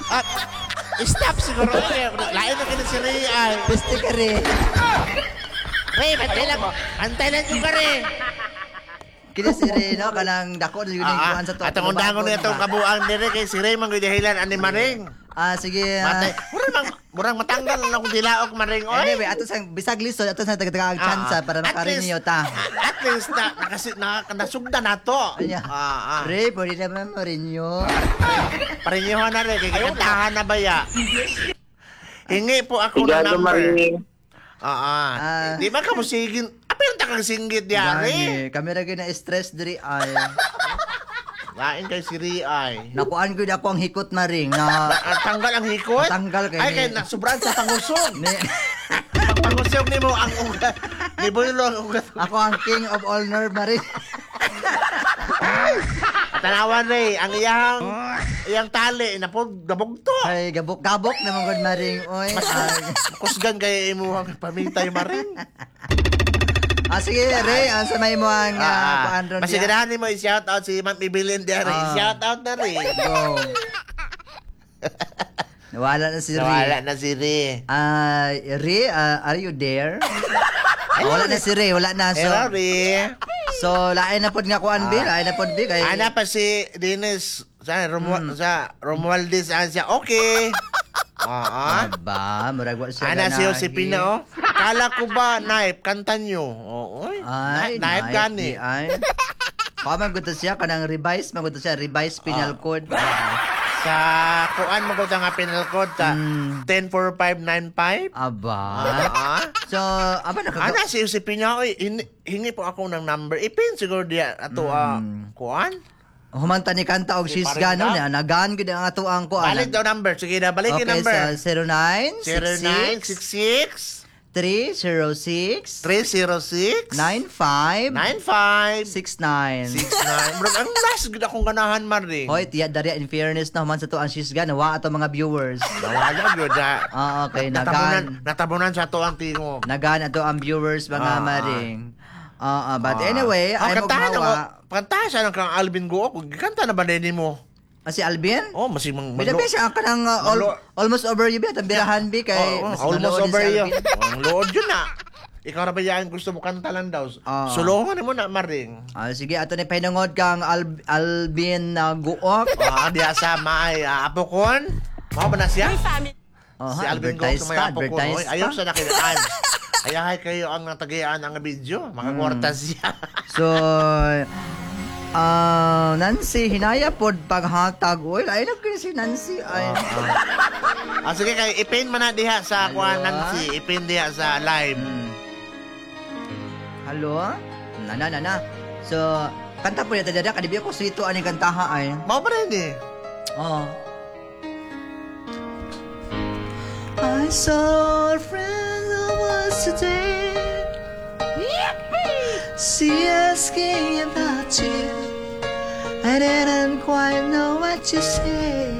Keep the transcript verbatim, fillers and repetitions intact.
At, stop siguro. Eh. Lain na kini si Ray ay. Peste ka rin. Ray, bantay lang. Bantay lang yung ka Ray. Kini si Ray, no? Kanang dako na yun yung Ah, kuan sa to. At ang undangon niya itong kabuang dire kay si Ray manggidahilan ani Maring. Ah, sige. ah. Matay. Murang mang, murang matanggal na akong tilaok Maring oy. Anyway, ato sang bisag lisod ato sang tagataga Ah, chance para at makarinyo least- ta. At least na nakasi na nasugda na to. Anya. Ah, ah. Ray, pwede naman marinyo. Parinyohan na rin kay kantahan na ba ya? Hingi po ako ng Sigado number. maring. Ah, ah. Ah. Di ba ka mo sigin? Apil ta kang singgit diari. Gani, kami ra gyud na stress diri ay. Lain kay si Ray ay. Nakuan gyud ako ang hikot maring na Ah, tanggal ang hikot? Natanggal kay Ay, ni- kay nasubrahan sa pangusog. ni, Pangusog nimo ang ugat. Ni Boylo ang ugat. ako ang king of all nerve maring. Tanawan Ray, ang iyang iyang tali napog nabugto. Ay gabok-gabok naman gud maring oy. Ay. Kusgan kay imuhang pamitay maring. Ah sige Ray, ang sa may mo ang Ah, uh, kuan ron Mas diya. ganahan mo i-shout out si Ma'am Evelyn diyan. Ah. I-shout out na rin. Go. Nawala na si Ray. Nawala na si Ray. Ah, Ray, ah, are you there? wala na si Ray, wala na. So, Hello, Ray. so lain na pod nga kuan bi, lain na pod bi kay Ana pa si Dennis sa Romu Hmm. sa Romualdez ah, siya. Okay. Ah. Aba, murag wa siya Ana si ganahi. Josepina oh. Kala ko ba knife kanta nyo. Oo. oy. Ay, knife gani. di Ay. Paman gud to siya kanang revise, man gud to siya revise penal code. Sa kuan mo ko nga penal code sa Mm. one zero four five nine five. Aba. Ah. So, aba nakaga Ana si Josepina oy, hin- hingi po ako ng number. Ipin siguro diya ato ah, Mm. kuan. Humanta ni kanta og Si she's gone no, Paring na nagan gud ang ato ang kuan. Balik daw number. Sige na, balik yung Okay, number. so zero nine six six zero nine six six three zero six three zero six nine five nine five six nine. six nine. Bro, ang last gud akong ganahan man rin. Hoy, tiya darya in fairness na human sa to ang she's gone, wa ato mga viewers. Nawala gyud na. Ah, okay, Natabunan, nagan. natabunan sa ato ang tingog. Nagan ato ang viewers mga Ah, maring. Ah, ah, but anyway, Ah, ay mo kantahan ako. mawa. Kantahan siya ng kang Alvin Go. Kanta na ba nini mo? Ah, si Alvin? Oh, masig mang Bida ba siya ang kanang uh, al- Malo- almost over you ba? Tambirahan bi kay Oh, mas almost malood over si you. Alvin. Ang lood yun na. Ikaw na ba yan gusto mo kanta lang daw? Ah. Sulungan mo na maring. Ah, sige, ato ni pahinungod kang Al- Alvin uh, Guok. Ah, diya sa may uh, apokon. Mao ba na siya? Oh, Si Alvin Go advertise sa may pa, apokon. advertise Oy, ayaw pa. sa nakinaan. Ayahay kayo ang natagian ang video. Hmm. Mga kwarta siya. So, ah, Nancy, hinaya pod paghatag. Uy, ay nag si Nancy. Ay. Ah, sige kay ipin man na diha sa Hello? kuan Nancy, ipin diha sa live. Hmm. Hello? Na na na na. So, kanta po yata dada kadibi ako sito ani kantaha ay. Mao ba rin eh? Oh. I saw a friend who was today. She asking about you. I didn't quite know what to say.